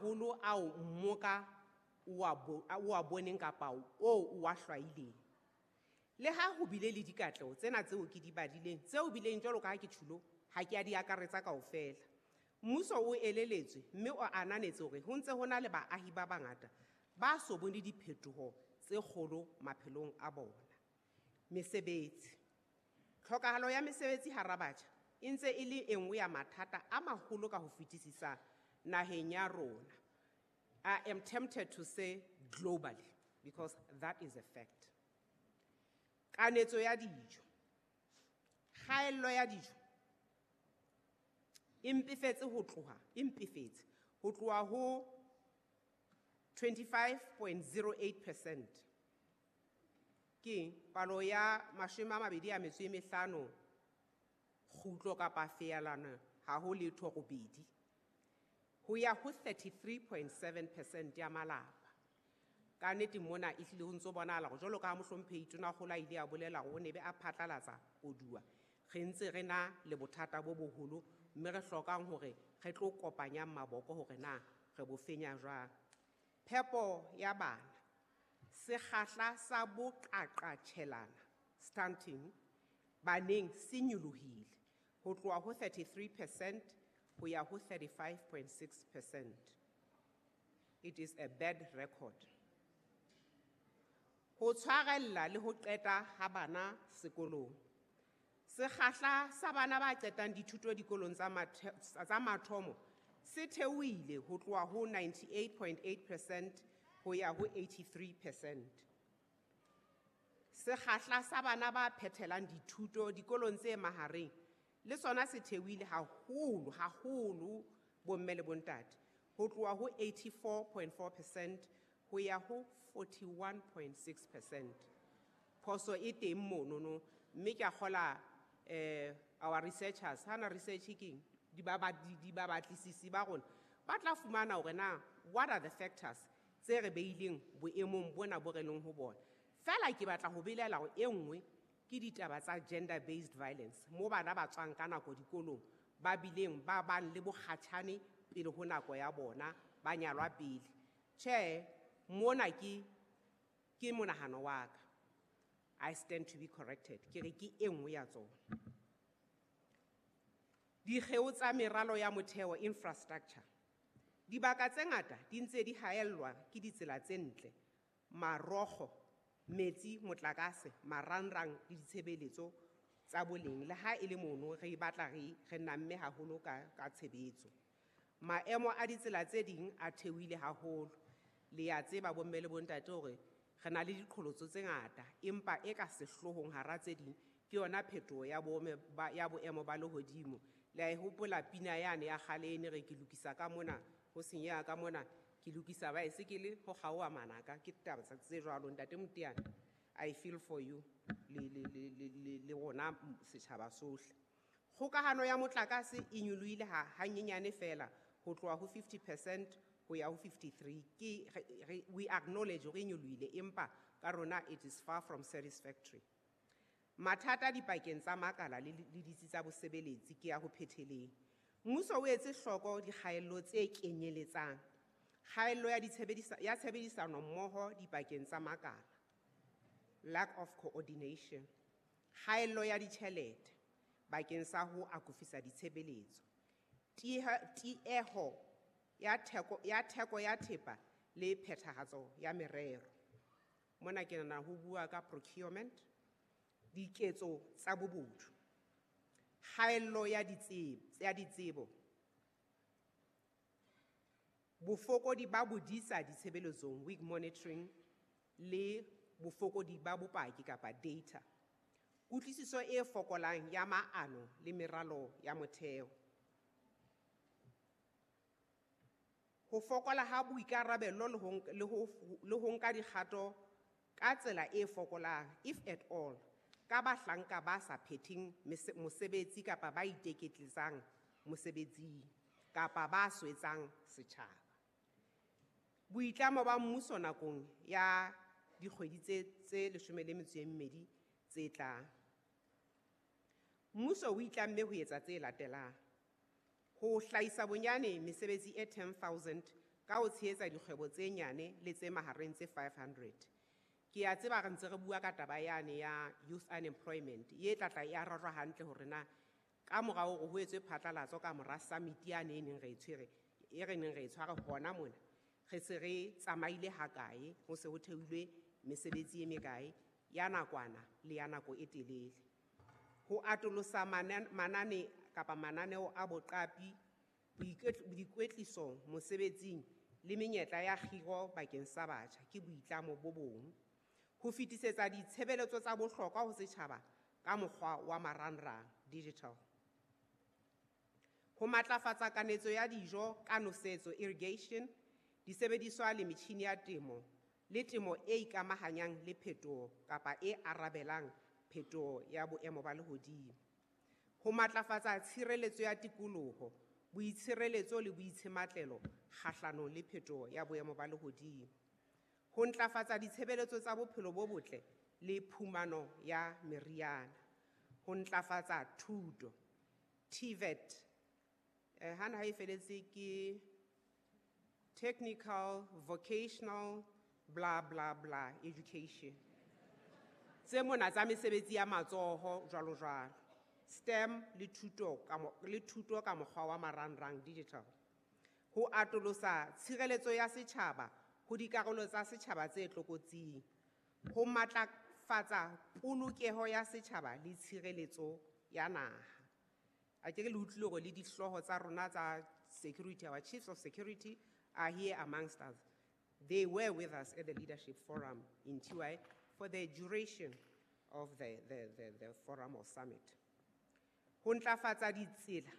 maholo ao mmoka o a boneng kapa o a hlwaileng. Le ha ho bile le dikatleho tsena tseo ke di badileng, tseo bileng jwalo ka ha ke tjhulo, ha ke a di akaretsa kaofela. Mmuso o eleletswe mme o ananetse hore ho ntse ho na le baahi ba bangata ba so bone diphetoho tse kgolo maphelong a bona. Mesebetsi. Tlhokahalo ya mesebetsi hara batjha e ntse e le e nngwe ya mathata a maholo ka ho fetisisa naheng ya rona. I am tempted to say globally, because that is a fact. Kanetso ya dijo. Kgaello ya dijo e mpefetse ho tloha, e mpefetse ho tloha ho 25.08%. Ke palo ya 25 kgutlo kapa feelana ha ho letho robedi ho ya ho 33.7% ya malapa. Ka nnete mona e hlile ho ntso bonahala hore jwalo ka ha mohlomphehi Tonakgolo a ile a bolela hore o ne be a phatlalatsa koduwa, re ntse re na le bothata bo boholo mme re hlokang hore re tlo kopanyang maboko hore na re bo fenya jwang. Phepo ya bana, sekgahla sa boqaqatjhelana stunting baneng se nyolohile ho tloha ho 33% ho ya ho 35.6%. It is a bad record. Ho tshwarella le ho qeta ha bana sekolong. Sekgahla sa bana ba qetang dithuto dikolong tsa mathomo se theohile ho tloha ho 98.8% ho ya ho 83%. Sekgahla sa bana ba phethelang dithuto dikolong tse mahareng le sona se theohile haholo, haholo bomme le bontate, ho tloha ho 84.4% ho ya ho 41.6%. Phoso e teng monono, mme ke a kgola, our researchers, hana research ke eng? Di ba ba, di, di ba batlisisi ba rona, ba tla fumana hore na what are the factors tse re beileng boemong bona bo re leng ho bona. Feela ke batla ho belela hore e nngwe ke ditaba tsa gender based violence, mo bana ba tswang ka nako dikolong ba bileng ba bang le bokgatjhane pele ho nako ya bona, ba nyalwa pele. Tjhe, mona ke monahano wa ka. I stand to be corrected. Ke re ke e nngwe ya tsona. Dikgeo tsa meralo ya motheo infrastructure. Dibaka tse ngata di ntse di haellwa ke ditsela tse ntle, marokgo, metsi, motlakase, marangrang le ditshebeletso tsa boleng. Le ha e le mono re batla re namme haholo ka tshebetso. Maemo a ditsela tse ding a theohile haholo. Le ya tseba bomme le bontate hore re na le diqholotso tse ngata, empa e ka sehloohong hara tse ding ke yona phetoho ya boemo ba lehodimo. Le a e hopola pina yane ya kgale e ne re ke lokisa ka mona, ho senyeha ka mona, ke lokisa baesekele ho kgaoha manaka, ke taba tse jwalo. Ntate Moteane, I feel for you le rona setjhaba sohle. Kgokahano ya motlakase e nyolohile hanyenyane feela ho tloha ho 50% ho ya ho 53. We acknowledge hore e nyolohile, empa ka rona it is far from satisfactory. Mathata dipakeng tsa makala le ditsi tsa bosebeletsi ke ya ho phetheleng. Mmuso o etse hloko dikgaello tse kenyeletsang kgaello ya tshebedisano mmoho dipakeng tsa makala, lack of coordination, kgaello ya ditjhelete bakeng sa ho akofisa ditshebeletso, tieho ya theko ya thepa le phethahatso ya merero. Mona ke nahana ho bua ka procurement, diketso tsa bobodu, kgaello ya ditsebo, bofokodi ba bodisa ditshebeletsong, weak monitoring, le bofokodi ba bopaki kapa data, kutlwisiso e fokolang ya maano le meralo ya motheo, ho fokola ha boikarabelo le ho nka dikgato ka tsela e fokolang, if at all, ka bahlanka ba sa phetheng mosebetsi kapa ba iteketletsang mosebetsing kapa ba swetsang setjhaba. Boitlamo ba mmuso nakong ya dikgwedi tse 12 tse tlang. Mmuso o itlamme ho etsa tse latelang: ho hlahisa bonyane mesebetsi e 10,000 ka ho tshehetsa dikgwebo tse nyane le tse mahareng tse 500. Ke a tseba re ntse re bua ka taba yane ya youth unemployment, ye tla tla e arajwa hantle hore na ka mora hore ho etswe phatlalatso ka mora summit yane e neng re e tshwere, e re neng re e tshware hona mona, re se re tsamaile hakae, ho se ho theilwe mesebetsi e mekae ya nakwana le ya nako e telele. Ho atolosa manane kapa mananeo a boqapi, boikwetliso mosebetsing le menyetla ya kgiro bakeng sa batjha ke boitlamo bo bong. Ho fetisetsa ditshebeletso tsa bohlokwa ho setjhaba ka mokgwa wa marangrang, digital. Ho matlafatsa kanetso ya dijo ka nosetso, irrigation, disebediswa le metjhini ya temo le temo e ikamahanyang le phetoho kapa e arabelang phetoho ya boemo ba lehodimo. Ho matlafatsa tshireletso ya tikoloho, boitshireletso le boitshematlelo kgahlanong le phetoho ya boemo ba lehodimo. Ho ntlafatsa ditshebeletso tsa bophelo bo botle le phumano ya meriana. Ho ntlafatsa thuto, TVET, hana ha e feletse ke technical, vocational, bla bla bla education. Tse mona tsa mesebetsi ya matsoho jwalo jwalo. STEM le thuto ka mokgwa wa marangrang, digital. Ho atolosa tshireletso ya setjhaba ho dikarolo tsa setjhaba tse tlokotsing. Ho matlafatsa polokeho ya setjhaba le tshireletso ya naha. A ke re le utlwile hore le dihlooho tsa rona tsa security, our chiefs of security are here amongst us. They were with us at the leadership forum in TY for the duration of the forum or summit. Ho ntlafatsa ditsela,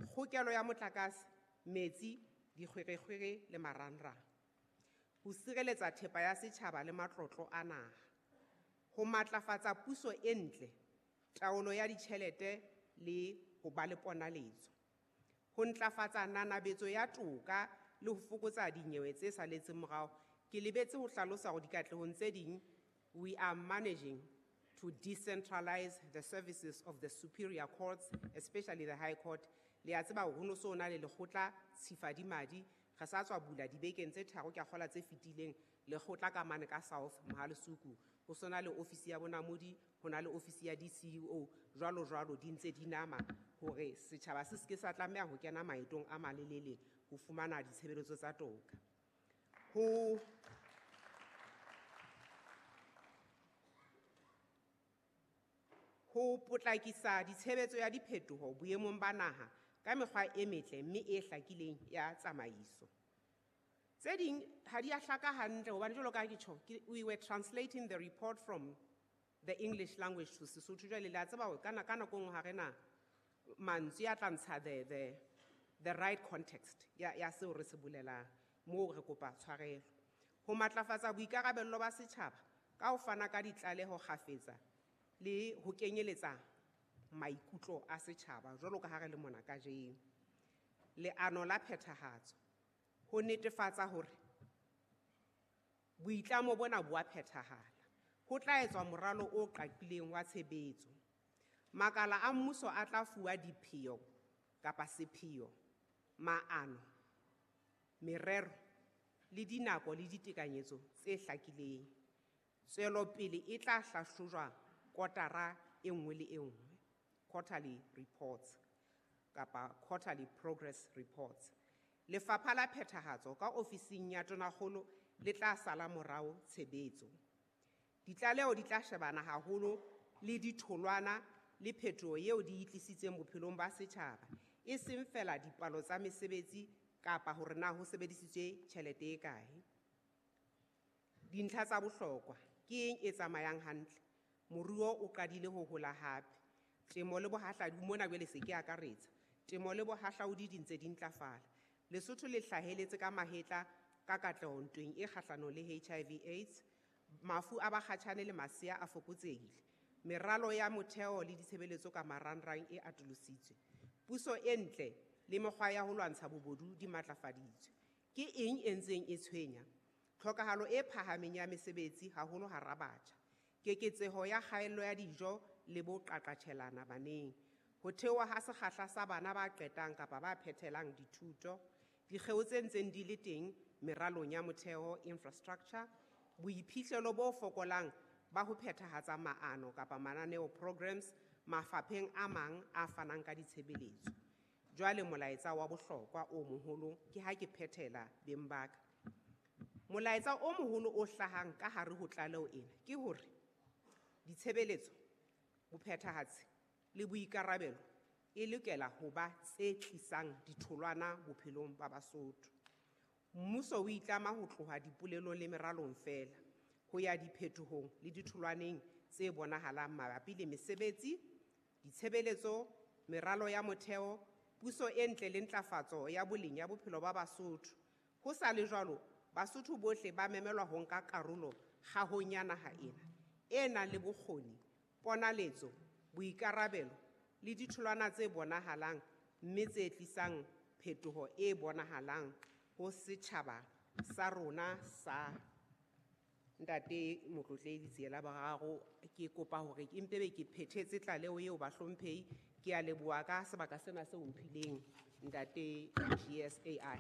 kgokelo ya motlakase, metsi, dikgwerekgwere le marangrang. Ho sireletsa thepa ya setjhaba le matlotlo a naha. Ho matlafatsa puso e ntle, taolo ya ditjhelete le ho ba le ponaletso. Ho ntlafatsa nanabetso ya toka le ho fokotsa dinyewe tse saletseng morao. Ke lebetse ho hlalosa hore dikatlehong tse ding, we are managing to decentralize the services of the superior courts, especially the High Court. Le a tseba hore ho no so na le lekgotla Tshifadimadi, re sa tswa bula dibekeng tse tharo ke a kgolwa tse fetileng, lekgotla ka mane ka South Mohalesuku. Ho sona le ofisi ya bonamodi, ho na le ofisi ya DCEO, jwalo jwalo di ntse di nama hore setjhaba se seke sa tlameha ho kena maetong a malelele ho fumana ditshebeletso tsa toka. Ho potlakisa ditshebetso ya diphetoho boemong ba naha ka mekgwa e metle mme e hlakileng ya tsamaiso. Tse ding ha di a hlaka hantle hobane jwalo ka ha ke tjho, we were translating the report from the English language to Sesotho. Jwale le a tseba hore ka nako nngwe ha re na mantswe a tla ntsha the right context ya seo re se bolelang, moo re kopa tshwarelo. Ho matlafatsa boikarabello ba setjhaba ka ho fana ka ditlaleho kgafetsa le ho kenyeletsa maikutlo a setjhaba jwalo ka ha re le mona kajeno. Leano la phethahatso ho netefatsa hore boitlamo bona bo a phethahala. Ho tla etswa moralo o qaqileng wa tshebetso. Makala a mmuso a tla fuwa dipheo kapa sepheo, maano, merero le dinako le ditekanyetso tse hlakileng. Tswelopele e tla hlahlojwa kotara e nngwe le e nngwe, quarterly reports kapa quarterly progress reports. Lefapha la phethahatso ka ofising ya Tonakgolo le tla sala morao tshebetso. Ditlaleho di tla shebana haholo le ditholwana le phetoho eo di e tlisitseng bophelong ba setjhaba, e seng feela dipalo tsa mesebetsi kapa hore na ho sebedisitswe tjhelete e kae. Dintlha tsa bohlokwa ke eng e tsamayang hantle? Moruo o qadile ho hola hape. Temo le bohahlaudi mona jwale se ke akaretsa. Temo le bohahlaudi di ntse di ntlafala. Lesotho le hlaheletse ka mahetla ka katleho ntweng e kgahlanong le HIV AIDS. Mafu a bakgatjhane le masea a fokotsehile. Meralo ya motheo le ditshebeletso ka marangrang e atolositswe. Puso e ntle le mekgwa ya ho lwantsha bobodu di matlafaditswe. Ke eng e ntseng e tshwenya? Tlhokahalo e phahameng ya mesebetsi haholo hara batjha. Keketseho ya kgaello ya dijo le boqaqatjhelana baneng. Ho theoha ha sekgahla sa bana ba qetang kapa ba phethelang dithuto. Dikgeo tse ntseng di le teng meralong ya motheo infrastructure, boiphihlelo bo fokolang ba ho phethahatsa maano kapa mananeo programs mafapheng a mang a fanang ka ditshebeletso. Jwale molaetsa wa bohlokwa o moholo ke ha ke phethela beng ba ka. Molaetsa o moholo o hlahang ka hare ho tlaleho ena ke hore ditshebeletso, bophethahatsi le boikarabelo e lokela ho ba tse tlisang ditholwana bophelong ba Basotho. Mmuso o itlama ho tloha dipolelong le meralong feela ho ya diphetohong le ditholwaneng tse bonahalang mabapi le mesebetsi, ditshebeletso, meralo ya motheo, puso e ntle le ntlafatso ya boleng ya bophelo ba Basotho. Ho sa le jwalo, Basotho bohle ba memelwa ho nka karolo kgahong ya naha ena e nang le bokgoni, ponaletso, boikarabelo le ditholwana tse bonahalang mme tse tlisang phetoho e bonahalang ho setjhaba sa rona sa Ntate Motlotlehi Letsie la Boraro. Ke kopa hore ke mpe be ke phethetse tlaleho eo bahlomphehi. Ke a leboha ka sebaka sena seo mphileng Ntate GSAI.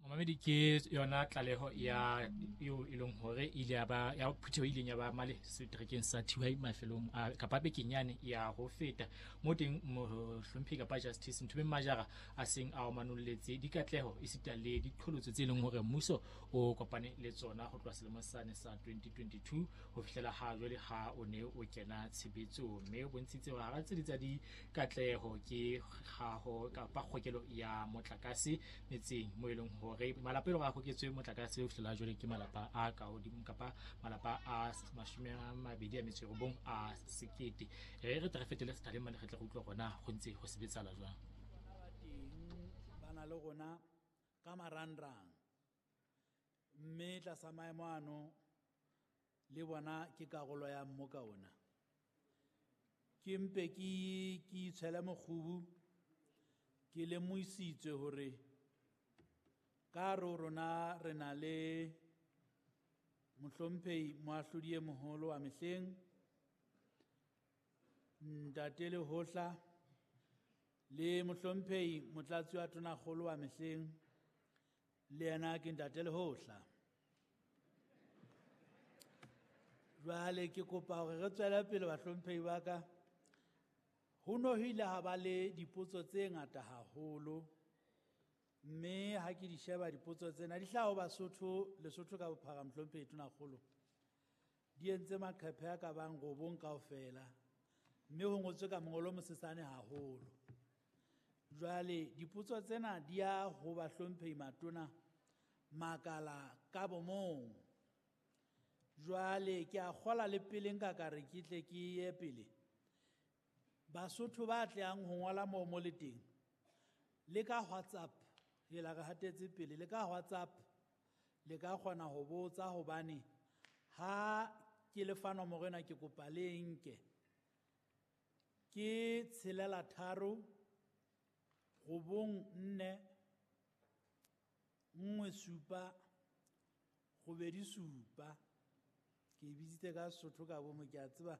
Momamedi, ke yona tlaleho ya eo e leng hore ile ya ba ya phutheho e ileng ya ba male seterekeng sa Thiwai mafelong a kapa bekeng yane ya ho feta mo teng mohlomphehi kapa Justice Nthomeng Majara a seng a manolletse dikatleho esita le diqholotso tse leng hore mmuso o kopane le tsona ho tloha selemong sane sa 2022 ho fihlela ha jwale ha o ne o kena tshebetsong, mme o bontshitse hore hara tse di tsa dikatleho ke kgaho kapa kgokelo ya motlakase metseng mo e leng hore malapa e leng hore a hoketswe motlakase ho fihlela jwale ke malapa a ka hodimo kapa malapa a 29 a sekete. Re tle re fetele sethaleng mane re tle re utlwe hore na ho ntse ho sebetsahala jwang. Teng ba na le rona ka marangrang, mme tlasa maemo ano le bona ke karolo ya mmoka ona. Ke mpe ke itshwele mokgubu, ke lemohisitswe hore ka hare ho rona re na le mohlomphehi moahlodi e moholo wa mehleng, Ntate Lehohla, le mohlomphehi motlatsi wa tonakgolo wa mehleng, le yena ke Ntate Lehohla. Jwale ke kopa hore re tswele pele bahlomphehi ba ka. Ho no ho ile ha ba le dipotso tse ngata haholo, mme ha ke di sheba dipotso tsena di hlaha ho Basotho, Lesotho ka bophara mohlomphehi tonakgolo. Di entse maqephe a ka bang 9 kaofela, mme ho ngotswe ka mongolo o mosesane haholo. Jwale dipotso tsena di ya ho bahlomphehi matona makala ka bomong. Jwale ke a kgola le pele nka ka re ke tle ke ye pele. Basotho ba tlehang ho ngola moo mo le teng, le ka WhatsApp, hela re hatetse pele, le ka WhatsApp le ka kgona ho botsa, hobane ha ke le fa nomoro ena ke kopa le e nke. Ke 6 3 9 4 1 7 8 7. Ke e bitsitse ka Sesotho ka bomo, ke a tseba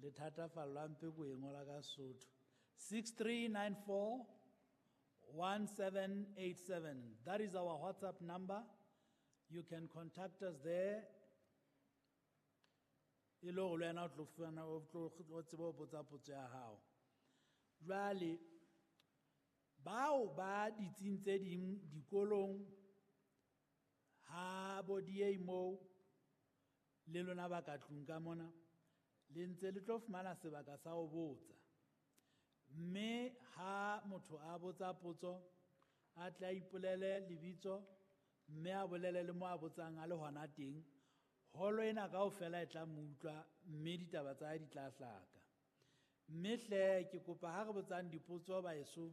le thatafallwa mpe ko e ngola ka Sesotho. 6394 1787. That is our WhatsApp number. You can contact us there. E le hore le wena o tlo fumana, o tlo, o tsebe ho botsa potso ya hao. Jwale bao ba ditsing tse ding dikolong ha bo DA moo le lona ba ka tlung ka mona le ntse le tlo fumana sebaka sa ho botsa. Mme ha motho a botsa potso a tla ipolele lebitso mme a bolele le mo a botsang a le hona teng, holo ena kaofela e tla mo utlwa mme ditaba tsa hae di tla hlaka. Mme hle ke kopa ha re botsang dipotso baeso